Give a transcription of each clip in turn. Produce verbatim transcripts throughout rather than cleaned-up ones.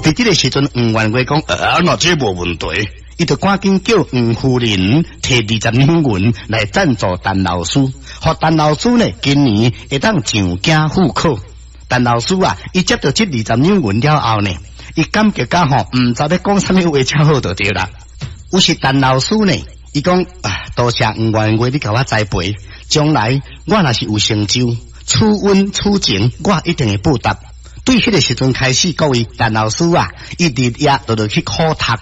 佇這个時陣，黃元月講，啊，那這無問題，伊就趕緊叫黃夫人提二十兩銀來贊助陳老師，予陳老師呢今年會當上京赴考。陳老師啊，伊接著這二十兩銀了後呢，伊感覺甲吼，毋知欲講啥物話才好就對啦。有時陳老師呢，伊講啊，多謝黃元月你共我栽培，將來我若是有成就，此恩此情，我一定會報答。對彼个時陣開始，各位陳老師啊，伊日夜都落去苦讀。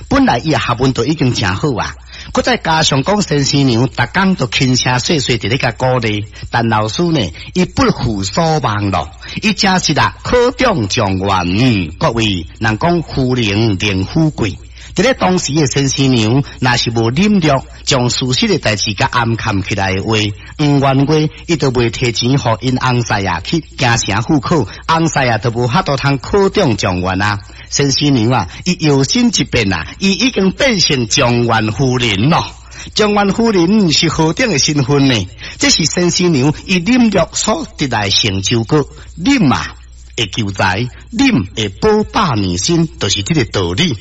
本來伊的學問都已經誠好啊，閣再加上講先生娘逐工都輕聲細細佇咧共鼓勵，陳老師呢，伊不負所望咯，伊真是啦，考中狀元。各位人講夫人寧富貴，佇咧當時的先生娘，若是無忍略將事實的代誌共掩藏起來的話，黃元月伊就袂提錢予𪜶翁婿啊去京城赴考，翁婿啊就無法度通考中狀元啊。先生娘啊，伊搖身一變啊，伊已經變成狀元夫人咯。狀元夫人是何等的身份呢？這是先生娘伊忍辱所得來成就果，忍啊會求財，忍會保百年身，就是這个道理。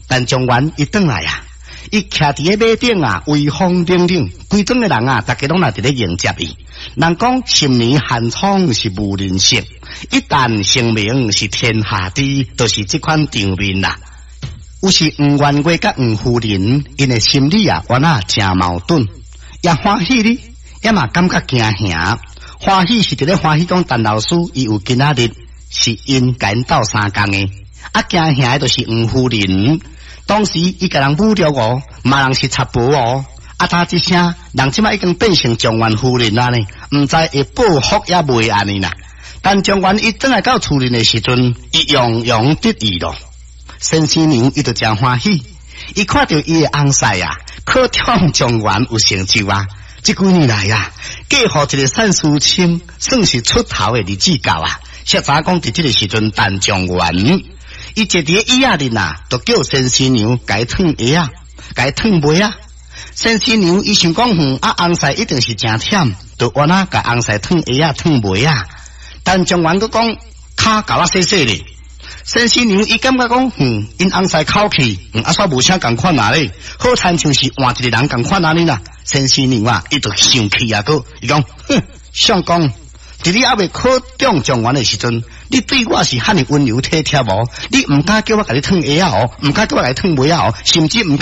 陳狀元伊轉來啊，伊徛佇个馬頂啊，威風凜凜，規莊的人啊，逐家攏來佇咧迎接伊。人講十年寒窗是無人識，一旦成名是天下知，就是這款場面啦。有時黃元月佮黃夫人，𪜶的心理啊，原來誠矛盾，也歡喜哩，也嘛感覺驚嚇。歡喜是佇咧歡喜講陳老師伊有今仔日是𪜶共𪜶鬥相共的，啊驚嚇的就是黃夫人。當時伊共人侮辱哦，罵人是賊婆哦，啊！他這聲，人這馬已經變成狀元夫人啊呢，毋知會報復抑未按呢啦。陳狀元伊轉來到厝裡的時陣，伊洋洋得意咯。先生娘伊就誠歡喜，伊看著伊的翁婿啊，考中狀元有成就啊。這幾年來啊，嫁予一個散書生，算是出頭的日子到啊。誰知講佇這个時陣，陳狀元伊坐佇个椅仔裡啊，就叫先生娘共伊褪鞋仔，共伊褪襪仔。先生娘伊想講，哼，啊翁婿一定是誠忝，就按怎共翁婿褪鞋仔、褪襪仔。陳狀元閣講，跤共我洗洗咧。先生娘伊感覺講，哼，𪜶翁婿口氣，嗯，啊煞無啥仝款啊咧，好親像是換一個人仝款按呢啦。先生娘啊，伊就生氣啊，閣伊講，哼，相公，佇你猶未考中狀元的時陣，你對我是遐爾溫柔體貼無？你毋敢叫我共你褪鞋仔哦，毋敢叫我共你褪襪仔哦，甚至毋敢。